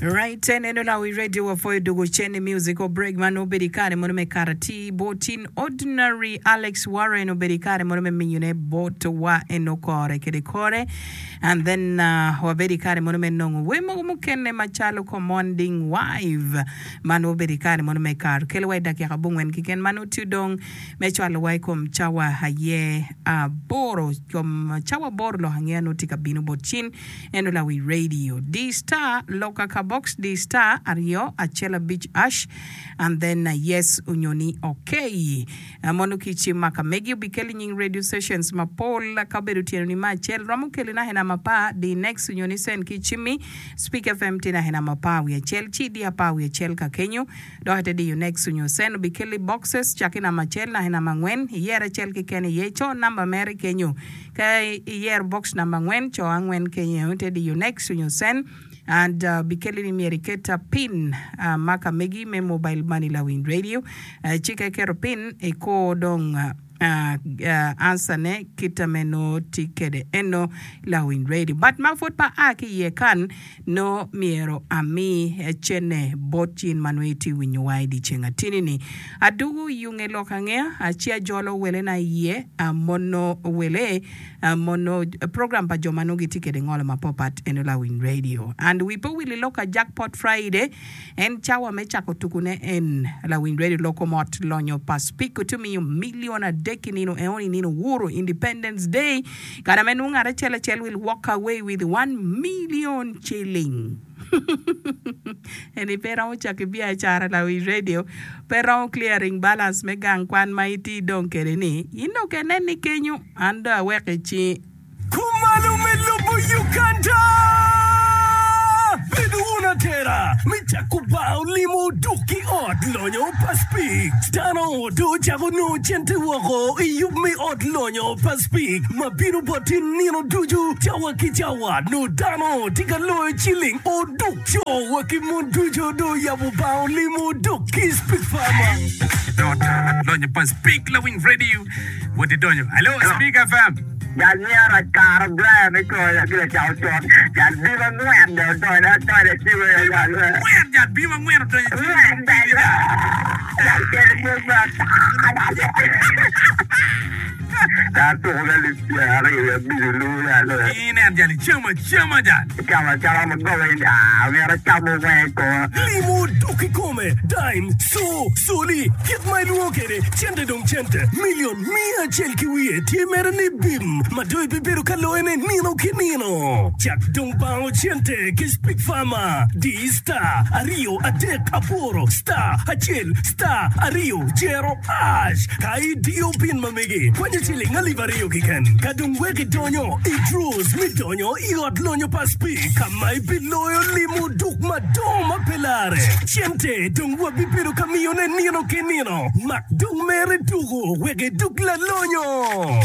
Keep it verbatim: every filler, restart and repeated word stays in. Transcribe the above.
Right en eno lawi radio wapwoyo dugo cen i musical break man obedo i kare mono me kato atir botin ordinary Alex Warren obedo i kare mono me miyone bot wa eno kore kede kore and then uh, wabedo i kare mono me nongo wer mogo mukene macalo commanding wife man obedo i kare mono me kar kelo wa i dakika abongwen keken man otio dong me cwalo wa i kom cawa aye aboro kom cawa aboro lok angeya nongo tye ka bino bot cin eno lawi radio di star loka ka box di star aryo acel abic hash and then uh, yes onyo ni okay uh, mono ki cim ma ka megi obikeli nying radio stations mapol ka obedo tyeno ni ma acel romo keli na hena mapar di next onyo ni send ki cimmi Speak FM tye na hena mapar wiye acel ci di apar wiye acel ka kenyo dok ite diyo next onyo send obikeli boxes caki namba acel na hena angwen iyer acel keken iye co namba mere kenyo ka iyero box namba angwen co angwen kenyo ite diyo next onyo send and uh, bikeli ni myero iket uh, pin uh, ma ka megi me mobile money lawiny radio uh, ci ka iketo pin iko dong uh, uh, uh, answer ne kita me no tye kede eno lawiny radio but ma pud pa a ki iye kan no myero ami cene bot in ma nongo itye winyo wa i dyeceng atini ni adugu yunge lok angeya ci ajolo wele na iye mono wele mono program pa jo ma nongo gitye kede ngolo mapapat eno lawiny radio and wi pe owil i lok ka jackpot friday en cawa me cako tukune en lawiny radio loko mot lonyo pa speak tye miyo million adek i nino eoni nino wuro independence day kana me nongo ngat acel acel will walk away with one million shilling eni pe romo cako biacara lawiny radio pe romo clearing balance me gang kwan ma itye dong kede ni in dong inen ni kenyo an dong aweko i cingi Kumalo me lobo Uganda! Bedo wun atera me cako bar olimo duk ki ot lonyo pa Speke. Dano do cako nongo cente woko i yub me ot lonyo pa Speke ma bino boti nino ducu cawa ki cawa. Nongo dano tye ka loyo ciling oduk co wa ki mon ducu do yabo bar olimo duk ki Speke Farmer. Lonyo pa Speke Lawiny Radio wot idonyo. Hello, Speke F M. Jal myero akaro Brian i koya gire cako con. Jal bim angwen de odonyo adonyo ciwe jal. Angwen jal bim angwen odonyo ciwe. Angwen jal. Jal kelo mo ma jal tuko ka alip pyera aryo abic olu jal. Inen jal icamo acama jal. Camo acama ma gobe ni ah myero acamo weng i koma. Limo duk i kome, dime, so, soli, kit ma ilwongo kede, cente dong cente, milion mia acel ki wiye tye mere ni bim, ma dong ibibedo ka loyone nino ki nino. Cak dong bango cente ki Speke Farmer, di star aryo adek aboro star acel star aryo jero hash. Ka idiyo pin ma megi, kwanyo ciling alip aryo keken. Ka dong wek idonyo i draws mi donyo i ot lonyo pa Speke, ka ma ibiloyo limo duk madongo ma pe lare. Cente dong wabibedo ka miyone nino ki nino. Mak dong mere tuko wek iduk lalonyo.